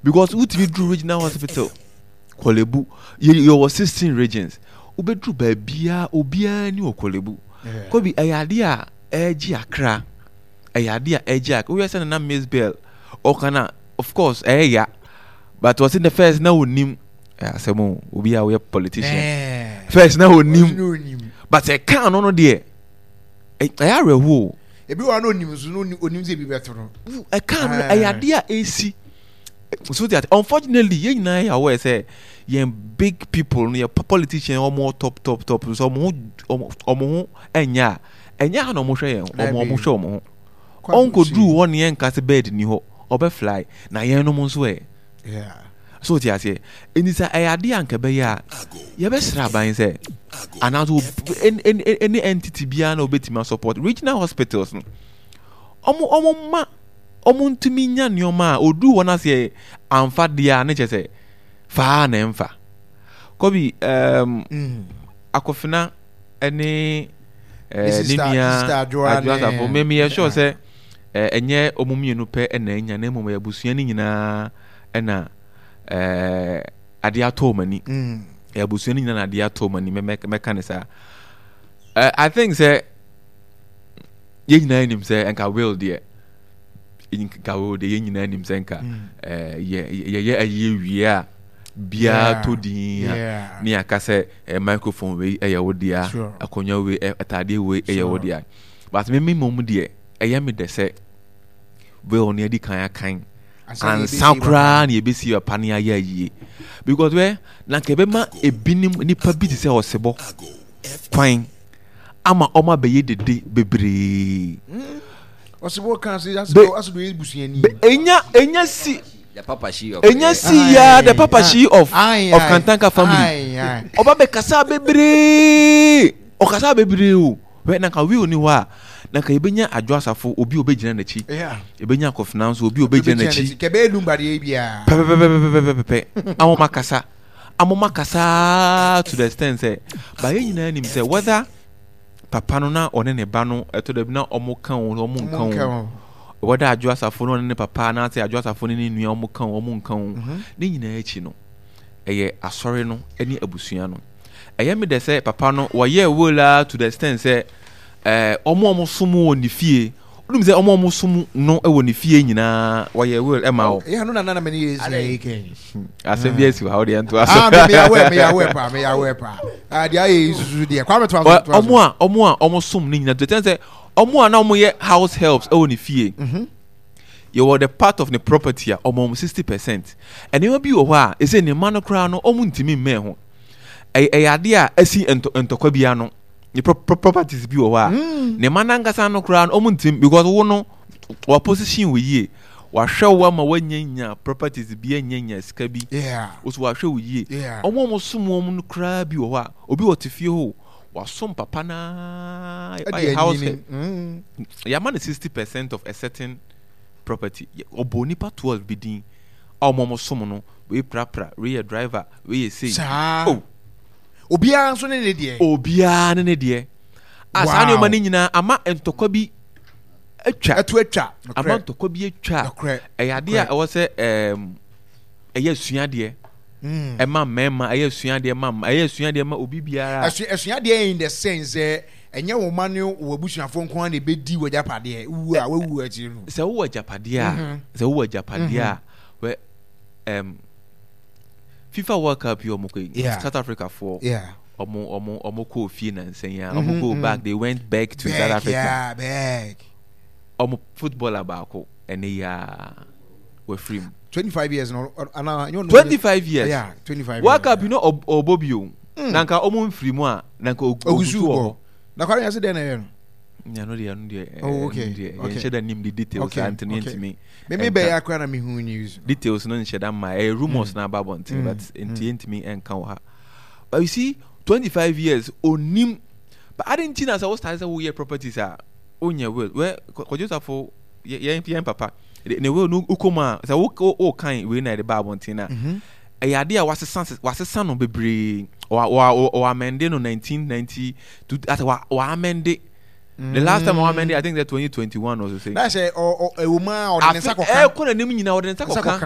Because wotumi duru regional hospital Korle Bu, yɛwɔ 16 regions, wobɛduru baabiara obiara ni wɔ Korle Bu. Kobi, ɛyɛ adeɛ a ɛregye akra, ɛyɛ adeɛ a ɛregye akra. Wohwɛ sɛ Nana Miss Bell ɔka no a, of course ɛyɛ ya, but ɔse the first na onim asɛm o, obi a woyɛ politician first na onim, but ɛka no no deɛ ɛyɛ awerɛhoɔ o. Ebi wɔ hɔ na onim nso na onim sɛ ebi bɛto no. Ɛka no ɛyɛ adeɛ a ɛsi so that unfortunately yɛn nyinaa yɛ aware sɛ yɛn big people no yɛ politician wɔn top top top nso wɔn ho wɔn ho ɛnyɛ a ɛnyɛ ha na wɔn hwɛ yɛn wɔn wɔn hwɛ wɔn ho ɔnkɔduru hɔ ne yɛn nka sɛ bird ni hɔ ɔbɛ fly na yɛn nom nso ɛ so ti aseɛ ɛni sɛ ɛyɛ adeɛ a nka ɛbɛyɛ a yɛbɛsrɛ aban sɛ anaasɛ ɛne entity biara na obɛtumi asupport regional hospitals no ɔmo ɔmo ma ɔmo ntumi nya nneɛma a oduru hɔ no aseɛ amfa deɛ a ne kyɛ sɛ faa na ɛmfa kɔbi akɔfena ɛne ne nua Adwoa Asafo me meyɛ sure sɛ ɛnyɛ ɔmo mmienu pɛ ɛna anya na mmom ɛyɛ abusua no nyinaa ɛna adeɛ atɔ ɔmo ani ɛyɛ abusua no nyinaa na adeɛ atɔ ɔmo ani mɛka ne saa. I think sɛ yɛn nyinaa nim sɛ nka will deɛ nka will deɛ yɛn nyinaa nim sɛ nka yɛ yɛyɛ ayie wie a biara tɔ din a ne yɛaka sɛ microphone wei ɛyɛ wo dea, akonnwa wei, ataadeɛ wei ɛyɛ wo dea. But me me mmom deɛ ɛyɛ me dɛ sɛ will no adi kan akan ansa koraa na yɛbɛsi papa no ayɛ ayie, because wɛ na nka ɛbɛma ebinom nipa bi te sɛ ɔsebɔ kwan ama ɔma bɛyɛ dede bebree. Ɔsebɔ kan se asebɔ yɛ busuani. Enya enya si The Papa Shee of enya si ya the Papa Shee of Kantanka family. Ɔba bɛ kasa bebree. Ɔkasa bebree o. Hwɛ na nka will ni hɔ a na nka yɛbɛnya Adwo Asafo obi a obɛgyina n'akyi. Yɛbɛnya Akɔfena nso obi a obɛgyina n'akyi. Kɛbɛyɛ lumba deɛ biara. Pɛpɛpɛpɛpɛpɛpɛ. Amoma kasa. Amoma kasa to the extent sɛ ba yɛn nyinaa nim sɛ whether papa no na ɔne ne ba no ɛtɔ da bi na ɔmo ka o ɔmo nka o whether Adwo Asafo no ɔne ne papa anaasɛ Adwo Asafo ne ne nua ɔmo ka o ɔmo nka o ne nyinaa akyi no ɛyɛ asɔre no ne abusua no. Ɛyɛ me dɛ sɛ papa no wɔyɛɛ will ara to the extent sɛ ɛɛ ɔmo a ɔmo som wɔ ne fie wonim sɛ ɔmo a ɔmo som no wɔ ne fie nyinaa wɔyɛ will ɛma wɔ. Ɛyɛ ano na nana mene yɛ esi yɛ kɛn. Asɛm bi asi wɔ ha wɔde yɛn to aso. Ah me yɛ awɛ me yɛ awɛ paa me yɛ awɛ paa. Ah deɛ ayɛ yi susu deɛ kwame to aso to aso. Ɔmo a ɔmo som ne nyinaa to the extent sɛ ɔmo a na ɔmo yɛ house helps ɛwɔ ne fie. Yɛwɔ the part of ne property a ɔmo ɔmo 60%. Nneɛma bi wɔ hɔ a ɛsɛ ne mma no koraa no ɔmo ntumi mmɛn ho. Ɛyɛ ɛyɛ adeɛ a asi ntɔkwa bi ano. Ne properties bi wɔ hɔ a ne mma nankasa no koraa no ɔmo ntumi, because wo no wa position wo yie. Wahwɛ wo ama wanyanya properties bi, anyanya sika bi. Wo so wahwɛ wo yie. Ɔmo a ɔmo som wɔn no koraa bi wɔ hɔ a obi wɔ te fie hɔ o, wasom papa naa ayɛ house help. Yɛama no 60% of a certain property. Ɔbɔ nipa 12 bi din a ɔmo ɔmo som no, wei prapra, wei yɛ driver, wei yɛ sei. Saa. Oh. Obiara nso ne ne deɛ. Obiara ne ne deɛ. A saa nneɛma no nyinaa ama ntɔkwa bi atwa. Ɛto atwa. Ama ntɔkwa bi atwa. Ɛyɛ adeɛ a ɛwɔ sɛ ɛyɛ asuadeɛ. Ɛma mmarima, ɛyɛ asuadeɛ ma mma, ɛyɛ asuadeɛ ma obi biara. Asuadeɛ in the sense sɛ ɛnyɛ wo mma ne wo abusuafoɔ nko ara na ɛbɛdi w'agyapadeɛ wu a wawu akyiri no. Sɛ wowɔ agyapadeɛ a, sɛ wowɔ agyapadeɛ a, wɛ FIFA World Cup yi ɔmo kɔ yi, South Africa foɔ, ɔmo ɔmo ɔmo kɔɔ fie nansa yi a, ɔmo go back, they went back to South Africa. Yeah, back. Ɔmo footballer baako ɛne yi a wafiri mu. 25 years no ana 25 years. Yeah, 25. World Cup yi no ɔbɔ bi o. Na nka ɔmo nfiri mu a na nka ogu so wɔ hɔ. Na kwame yɛ sɛ dɛn na ɛyɛ no? Nya no deɛ, ɛno deɛ. Oh, okay. Deɛ yɛnhyɛ da nim the details a nti no yɛntumi. Me bɛyɛ akora na mehu news. Details no nhyɛ da mma, ɛyɛ rumors na aba abɔnten, but nti yɛntumi nka wɔ ha. But you see, 25 years onim, but adi nti na sɛ wo start sɛ woyɛ properties a wonyɛ will. Wɛ Kwadwo Safo yɛn yɛn papa ne will no wokɔ mu a sɛ wo wo kan wei na yɛde ba abɔnten na ɛyɛ adeɛ a wasesa wasesa no bebree, wa wa wa amende no 1990 to asɛ wa wa amende. The last time wa amende, I think that 2021 or so. Na sɛ ɔ ɔ ɛwɔ mu a ɔde ne nsa kɔka. Ɛkɔ n'anim nyinaa ɔde ne nsa kɔka.